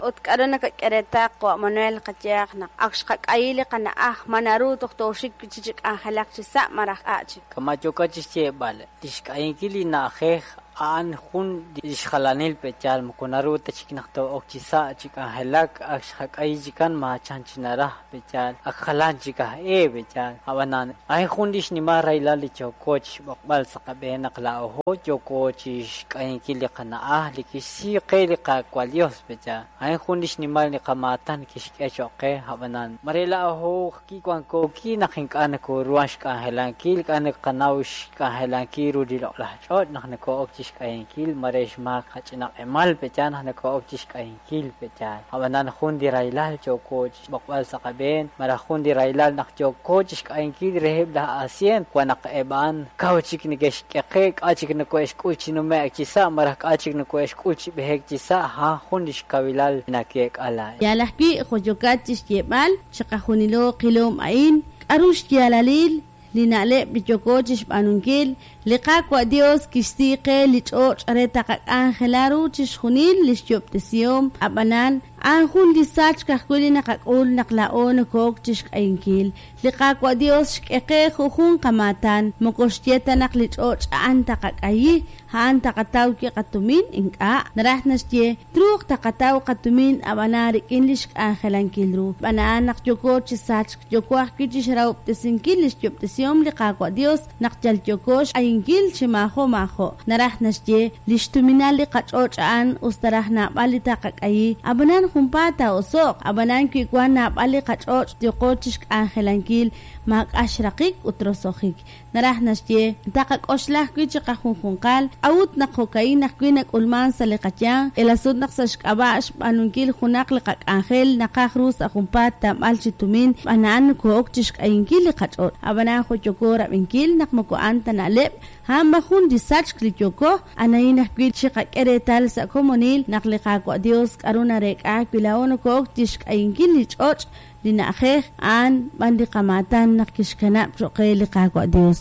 Ut k'aru nakak'e reetal qawa' Manuel, qayehaq naq ak xqak'ayi li qana'aj, ma naru toj tooxik wi' chik chi k'anjelak chi sa' maraj k'a' chik. Kama' yookat chi xyeeb'al, li xk'ayinkil li na'ajej a'an jun li xjalanil pe'yaal moko naru ta chik naq too'ok chi sa' chi k'anjelak, ak xqak'ayi chikan maachan chi naraj pe'yaal, ak jalan chik aj e pe'yaal. Ab'anan, a'in jun li xnimal rahilal li yooko chi xb'oqb'al sa' qab'een naq laa'o yooko chi xk'ayinkil li qana'aj li kixsi qe li Qaawa' Yos pe'yaal. A'in jun li xnimal li qamaatan kixk'e cho'q qe, ab'anan, mare laa'o kiwanko ki naq ink'a' nakooruhan xk'anjelankil, ink'a' naqanaw xk'anjelankil ru li loq'laj ch'och' naq nakoo'ok chi xk'ayinkil, mare xmaak qach'ina q'emal pe'yaal naq nakoo'ok chi xk'ayinkil pe'yaal. Ab'anan jun li rahilal yooko chi xb'oqb'al sa' qab'een, malaj jun li rahilal naq yooko chi xk'ayinkil reheb' laj asyent, wan naq eb' a'an kaw chik neke'xk'e qe, k'a' chik nakohe'xk'ul chi nume'k chi sa' malaj k'a' chik nakohe'xk'ul chi b'ehek chi sa', a'an jun li xkawilal nakeek'a laa'in. Yaal ajwi', jo' yookat chi xyeeb'al, chiqajunilo qilom a'in, k'aru xyaalalil li na'leb' li yooko chixb'aanunkil? Li Qaawa' Dios kixsi qe li ch'och' re taqak'anjela ru chixjunil lix yo'ob'tesihom, a'b'anan, a'an jun li sachk ajwi' li naqak'ul naq laa'o noko'ok chixk'ayinkil. Li Qaawa' Dios xk'e qe jujun qamaatan, moko xye ta naq li ch'och' a'an taqak'ayi, a'an taqataw wi' qatumin, ink'a'. Naraj naxye, truuq taqataw qatumin ab'anan rik'in li xk'anjelankil ru. Xb'aan a'an naq yooko chi sachk, yooko ajwi' chixrahob'tesinkil lix yob'tesihom li Qaawa' Dios naq yal yooko xk'ayinkil chi maajo' maajo'. Naraj naxye, lix tuminal li qach'och' a'an us ta raj naab'al li taqak'ayi, ab'anan junpaat taa'oso'q, ab'anan wi wan naab'al li qach'och' yooqo chixk'anjelankil maak'a' xraqik ut roso'jik. Naraj naxye, taqak'oxla ajwi' chiqajunjunqal, k'a'ut naq jo'ka'in ajwi' nak'ulman sa' li qayanq, k'iila sut naq sa' xk'ab'a' xb'aanunkil junaq li qak'anjel naqaj ru sa' junpaat tamb'al chi tumin, xb'aan a'an noko'ok chixk'ayinkil li qach'och'. Ab'anan jo' yooko rab'inkil naq moko a'an ta na'leb', a'an b'an jun li sachk li yooko, anahin ajwi' chiqak'e reetal sa' komonil naq li Qaawa' Dios k'a'ru nareek'a wi laa'o noko'ok chixk'ayinkil li ch'och', li na'ajej, a'an b'an li qamaatan naq kixkanab' cho'q qe li Qaawa' Dios.